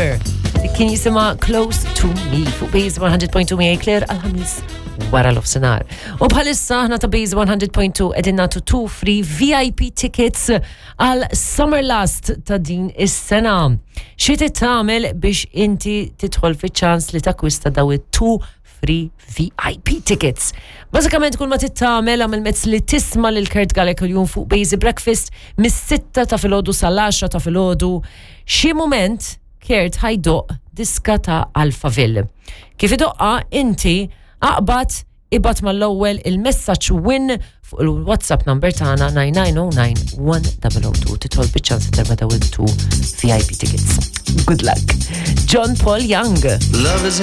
Summer. Kien jisimha Close to Me fuq Base 100.2 miegħi Claire għal-ħamis wara l-ofsenar. U bħalissa aħna ta' Base 100.2 qegħdin nagħtu two free VIP tickets għal Summer Last ta' din is-sena. Xi trid tagħmel biex inti tidħol fiċ-ċans li takkwista daw it-two free VIP tickets. Bażikament kull ma tittamel għamel mezz li tisma' lil Kurt Galea kuljum fuq Bazy Breakfast mis-sitta ta' filgħodu sal-10 ta' filgħodu. Xi mument Kurt ħajdoq diska ta' Alphaville. Kif idoqqa inti aqbad ibgħat mal-ewwel il-messaġġ win fuq il-WhatsApp number tagħna 9909 1002 titħol biċ-ċans terba' daw il-two VIP tickets. Good luck. John Paul Young. Love is in.